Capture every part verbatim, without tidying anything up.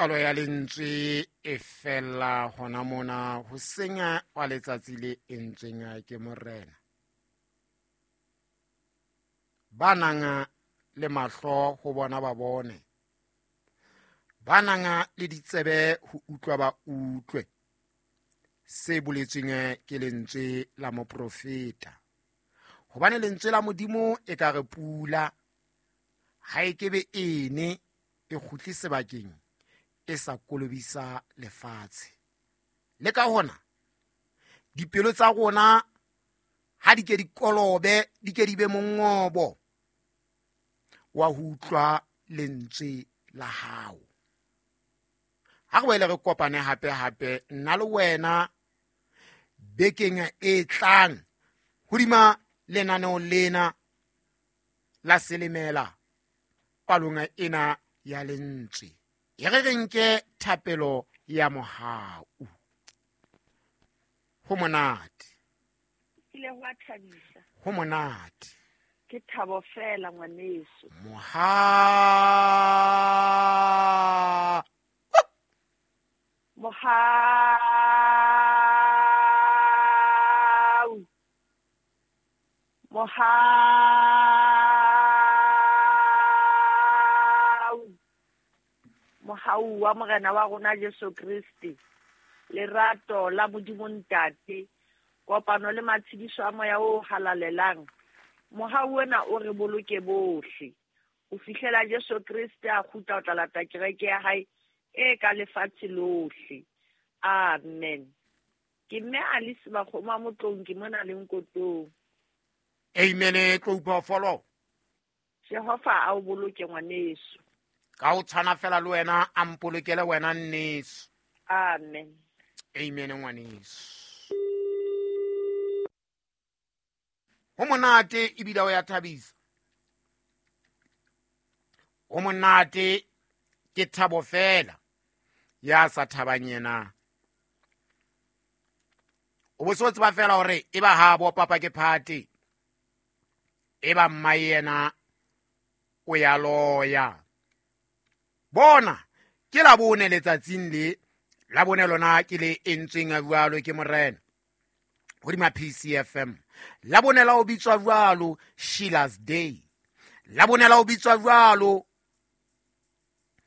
Palo ya lentswe e fella hona mona ho senya wa letsatsi le entsweng ke morena. Ba nang le mahlo ho bona ba bone, ba nang le ditsebe ho utlwa ba utlwe se boletsweng ke lentswe la moprofeta. Hobane lentswe la Modimo e ka re pula ha e kebe ene e kgutle sebakeng e sa kolobisa lefatshe. Le ka hona dipelo tsa rona ha di ke di kolobe, di ke di be mongobo wa ho utlwa lentswe la hao. Ha re boele re kopane hape hape nna le wena bekeng e tlang hodima lenaneo lena la Selemela palong ena ya lentswe. E re re nke thapelo ya mohau. Ho monate. Ile hwa thabisa. Ho monate. Ke thabo fela ngwaneso. Moha. Mohau. Mohau. Mohau wa Morena wa rona Jesu Kriste, lerato la Modimo Ntate, kopano le matshediso a moya o halalelang. Mohau ona o re boloke bohle ho fihlela Jesu Kriste a kgutla ho tla lata kereke ya hae e ka lefatshe lohle. Amen. Ke mme Alice Makgoma Motlong, ke mona le Nkotong. Amen. Tlo upha. Jehova a o boloke ngwaneso. Ka o tshwana fela le wena, a mpolokele wena nneso. Amen. Amen ngwaneso. Ho monate ebile o ya thabisa. Ho monate ke thabo fela ya sa thabang yena. O bo so tseba fela hore e ba ha bo papa ke phate, e ba mma yena o ya loya. Bona ke la bone letsatsing le la bone lona ke le entsweng jwalo ke morena hodima P C F M. La bone la o bitswa jwalo Sheila's Day. La bone la o bitswa jwalo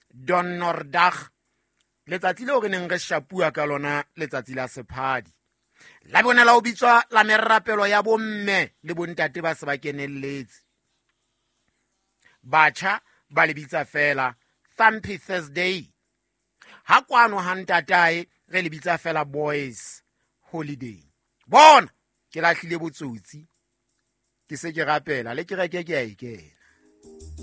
Donnerdag, letsatsi leo re neng re shapua ka lona, letsatsi la sephadi. La bone la o bitswa la merapelo ya bomme le bontate ba se ba kenelletse. Batjha ba le bitsa fela Thumpy Thursday. Ha kwano ha ntatae re le bitsa fela Boys Holiday. Bona ke lahlile botsotsi, ke se ke rapela le kereke ke a e kena.